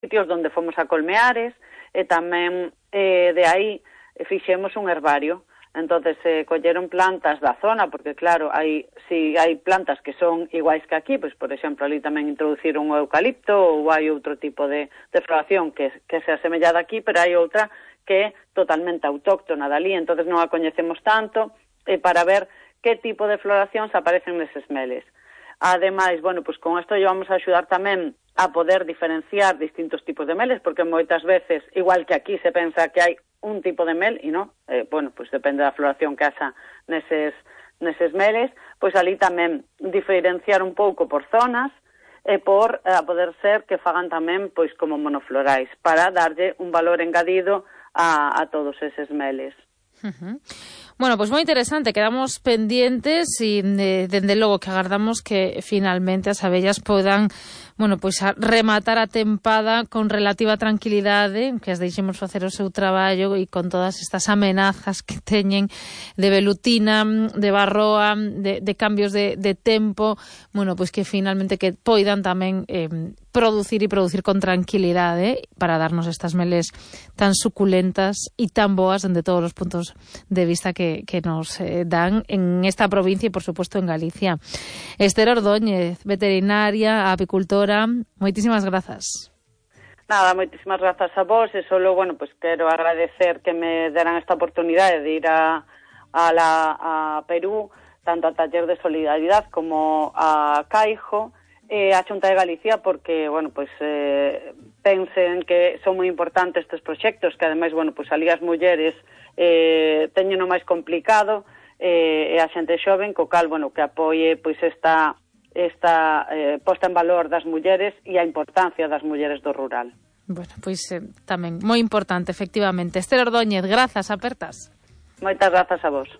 sitios onde fomos a Colmeares, e tamén de aí fixemos un herbario. Entonces colleron plantas da zona, porque claro, si hai plantas que son iguais que aquí, pois por exemplo ali tamén introduciron o eucalipto, ou hai outro tipo de floración que se asemella aquí, pero hai outra que é totalmente autóctona dali, entonces non a coñecemos tanto, para ver que tipo de floracións aparecen neses meles. Ademais, bueno, pois con isto vamos a axudar tamén a poder diferenciar distintos tipos de meles, porque moitas veces, igual que aquí se pensa que hai un tipo de mel, e non, bueno, pois depende da floración que haxa neses meles, pois ali tamén diferenciar un pouco por zonas, por a poder ser que fagan tamén pois como monoflorais, para darlle un valor engadido a todos eses meles. Bueno, pois moi interesante, quedamos pendientes e dende logo que agardamos que finalmente as abellas podan, bueno, pois a rematar a tempada con relativa tranquilidade, que as deixemos facer o seu traballo e con todas estas amenazas que teñen de velutina, de varroa, de cambios de tempo, bueno, pois que finalmente que poidan tamén producir con tranquilidade para darnos estas meles tan suculentas e tan boas dende todos os puntos de vista que nos dan en esta provincia e, por supuesto, en Galicia. Esther Ordóñez, veterinaria, apicultora, moitísimas grazas. Nada, moitísimas grazas a vos, e solo, bueno, pues quero agradecer que me deran esta oportunidade de ir a Perú, tanto a Taller de Solidaridade como a Caijo, a Xunta de Galicia, porque, bueno, pues pensen que son moi importantes estes proxectos, que ademais, bueno, pues ali as mulleres teñen o máis complicado, e a xente xoven, co cal, bueno, que apoie pois esta posta en valor das mulleres e a importancia das mulleres do rural. Bueno, pois tamén moi importante, efectivamente. Esther Ordóñez, grazas, apertas. Moitas grazas a vos.